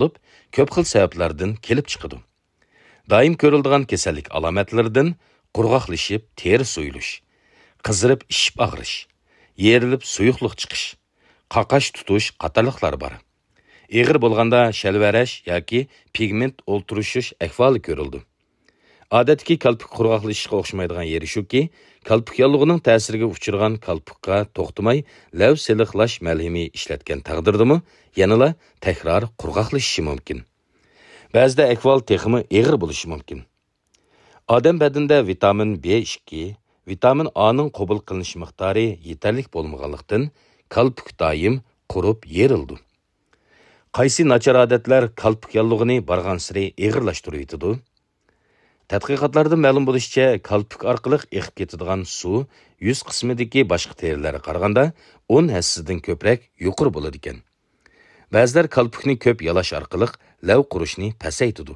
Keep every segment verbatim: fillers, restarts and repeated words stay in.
بولۇپ، كۆپ خىل سەۋەبلەردىن كېلىپ چىقىدۇ. دائىم كۆرۈلىدىغان كېسەللىك ئالامەتلىرىدىن قۇرغاقلىشىپ تېرە سويۇلۇش، قىزىرىپ ئىششىپ ئاغرىش، يېرىلىپ سۇيۇقلۇق چىقىش، قاقاش تۇتۇش قاتارلىقلار بار. ئېغىر بولغاندا شەلۋەرەش ياكى پىگمېنت ئولتۇرۇشۇش ئەھۋالى كۆرۈلىدۇ. ئادەتتىكى كالپۇك قۇرغاقلىشىشقا ئوخشىمايدىغان يېرى شۇكى، كالپۇك ياللۇغىنىڭ تەسىرىگە ئۇچرىغان كالپۇكقا توختىماي لەۋ سېلىقلاش مەلھىمى ئىشلەتكەن تەقدىردىمۇ يەنىلا تەكرار قۇرغاقلىشىشى مۇمكىن. بەزىدە ئەھۋال تېخىمۇ ئېغىر بولۇشى مۇمكىن. ئادەم بەدىنىدە ۋىتامىن بې ئىككى، ۋىتامىن ئانىڭ قوبۇل قىلىنىش مىقدارى يېتەرلىك بولمىغانلىقتىن، كالپۇك دائىم قۇرۇپ يېرىلىدۇ. قايسى ناچار ئادەتلەر كالپۇك ياللۇغىنى بارغانسېرى ئېغىرلاشتۇرۇۋېتىدۇ؟ تەتقىقاتلاردىن مەلۇم بولۇشىچە، كالپۇك ئارقىلىق ئېقىپ كېتىدىغان سۇ يۈز قىسمىدىكى باشقا تېرىلەرگە قارىغاندا ئون ھەسسىدىن كۆپرەك يۇقىرى بولىدىكەن. بەزىلەر كالپۇكنى كۆپ يالاش ئارقىلىق لەۋ قۇرۇشنى پەسەيتىدۇ.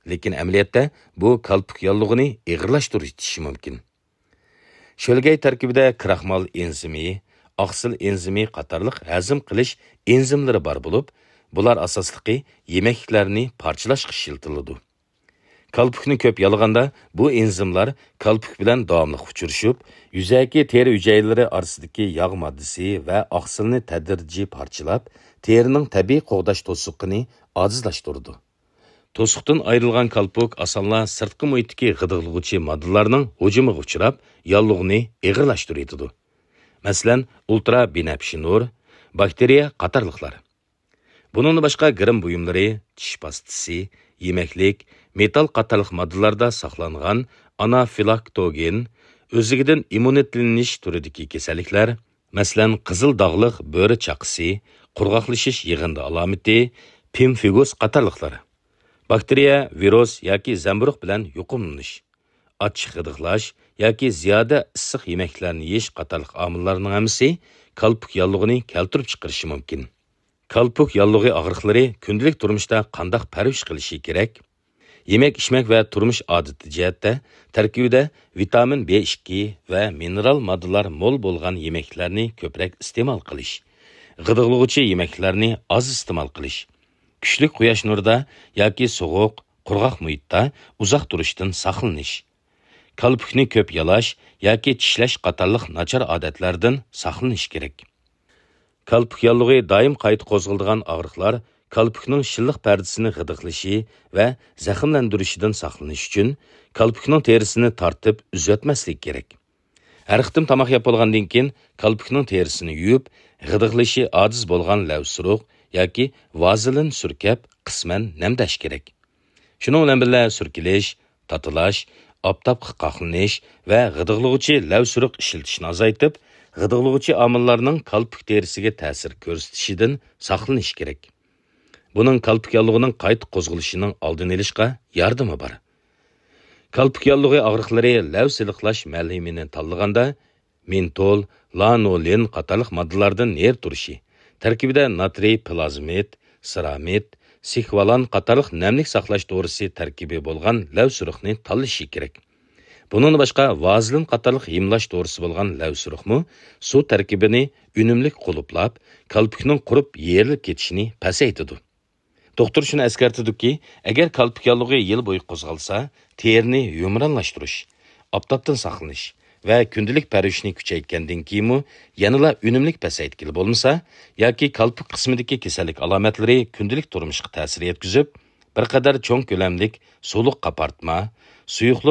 لېكىن ئەمەلىيەتتە بۇ كالپۇك ياللۇغىنى ئېغىرلاشتۇرۇۋېتىشى مۇمكىن. شۆلگەي تەركىبىدە كراخمال ئېنزىمى، ئاقسىل ئېنزىمى قاتارلىق ھەزىم قىلىش ئېنزىملىرى بار بولۇپ، بۇلار ئاساسلىقى يېمەكلىكلەرنى پارچىلاشقا ئىشلىتىلىدۇ. كالپۇكنى كۆپ يالىغاندا، بۇ ئېنزىملار كالپۇك بىلەن داۋاملىق ئۇچرىشىپ، يۈزەكى تېرە ھۈجەيرىلىرى ئارىسىدىكى ياغ ماددىسى ۋە ئاقسىلنى تەدرىجىي پارچىلاپ، تېرىنىڭ تەبىئىي قوغداش توسۇقىنى ئاجىزلاشتۇرىدۇ. توسۇقتىن ئايرىلغان كالپۇك ئاسانلا سىرتقى مۇھىتتىكى غىدىقلىغۇچى ماددىلارنىڭ ھۇجۇمىغا ئۇچراپ، ياللۇغنى ئېغىرلاشتۇرۇۋېتىدۇ. مەسىلەن، ئۇلترا بىنەپشە نۇر، باكتېرىيە قاتارلىقلار. بۇنىڭدىن باشقا، گىرىم بۇيۇملىرى، چىش پاستىسى، يېمەكلىك، مېتال قاتارلىق ماددىلاردا ساقلانغان ئانافىلاكتوگېن، ئۆزلۈكىدىن ئىممۇنىتېتلىنىش تۈرىدىكى كېسەللىكلەر، مەسىلەن، قىزىل داغلىق بۆرە چاقىسى، قۇرغاقلىشىش يىغىندى ئالامىتى، پىمفىگۇس قاتارلىقلار. باكتېرىيە، ۋىرۇس ياكى زەمبۇرۇغ بىلەن يۇقۇملىنىش، ئاچچىق غىدىقلاش ياكى زىيادە ئىسسىق يېمەكلەرنى يېيىش قاتارلىق ئامىللارنىڭ ھەممىسى كالپۇك ياللۇغىنى كەلتۈرۈپ چىقىرىشى مۇمكىن. كالپۇك ياللۇغى ئاغرىقلىرى كۈندىلىك تۇرمۇشتا قانداق پەرۋىش قىلىشى كېرەك؟ يېمەك-ئىچمەك ۋە تۇرمۇش ئادىتى جەھەتتە تەركىبىدە ۋىتامىن بې ئىككى ۋە مىنېرال ماددىلار مول بولغان يېمەكلەرنى كۆپرەك ئىستېمال قىلىش، غىدىقلىغۇچى يېمەكلەرنى ئاز ئىستېمال قىلىش، كۈچلۈك قۇياش نۇرىدا ياكى سوغۇق، قۇرغاق مۇھىتتا ئۇزاق تۇرۇشتىن ساقلىنىش، كالپۇكنى كۆپ يالاش ياكى چىشلەش قاتارلىق ناچار ئادەتلەردىن ساقلىنىش كېرەك. كالپۇك ياللۇغى دائىم قايتا قوزغىلىدىغان ئاغرىقلار كالپۇكنىڭ شىللىق پەردىسىنى غىدىقلىشى ۋە زەخىملەندۈرۈشىدىن ساقلىنىش ئۈچۈن، كالپۇكنىڭ تېرىسىنى تارتىپ ئۈزۈۋەتمەسلىك كېرەك. ھەر قېتىم تاماق يەپ بولغاندىن كېيىن، كالپۇكنىڭ تېرىسىنى يۇيۇپ، غىدىقلىشى ئاجىز بولغان لەۋسۇرۇق ياكى ۋازېلىن سۈركەپ، قىسمەن نەمدەش كېرەك. شۇنىڭ بىلەن بىللە، سۈركىلىش، تاتىلاش، ئاپتاپقا قاقلىنىش ۋە غىدىقلىغۇچى لەۋسۇرۇق ئىشلىتىشنى ئازايتىپ، غىدىقلىغۇچى ئامىللارنىڭ كالپۇك تېرىسىگە تەسىر كۆرسىتىشىدىن ساقلىنىش كېرەك. بۇنىڭ كالپۇك ياللۇغىنىڭ قايتا قوزغىلىشىنىڭ ئالدىنى ئېلىشقا ياردىمى بار. كالپۇك ياللۇغى ئاغرىقلىرى لەۋ سېلىقلاش مەلھىمىنى تاللىغاندا، مېنتول، لانولىن قاتارلىق ماددىلاردىن نېرى تۇرۇشى، تەركىبىدە ناترىي پلازمىد، سېرامىد، سىكۋالان قاتارلىق نەملىك ساقلاش دورىسى تەركىبى بولغان لەۋسۇرۇقنى تاللىشى كېرەك. بۇنىڭدىن باشقا، ۋازېلىن قاتارلىق ھىملاش دورىسى بولغان لەۋسۇرۇقمۇ سۇ تەركىبىنى ئۈنۈملۈك قۇلۇپلاپ، كالپۇكنىڭ قۇرۇپ يېرىلىپ كېتىشىنى پەسەيتىدۇ. دوختۇر شۇنى ئەسكەرتىدۇكى، ئەگەر كالپۇك ياللۇغى يىل بويى قوزغالسا، تېرىنى يۇمرانلاشتۇرۇش، ئاپتاپتىن ساقلىنىش ۋە كۈندىلىك پەرۋىشنى كۈچەيتكەندىن كېيىنمۇ يەنىلا ئۈنۈملۈك پەسەيتكىلى بولمىسا ياكى كالپۇك قىسمىدىكى كېسەللىك ئالامەتلىرى كۈندىلىك تۇرمۇشقا تەسىر يەتكۈزۈپ، بىر قەدەر چوڭ كۆلەملىك سۇلۇق قاپارتما، سۇيۇقلۇق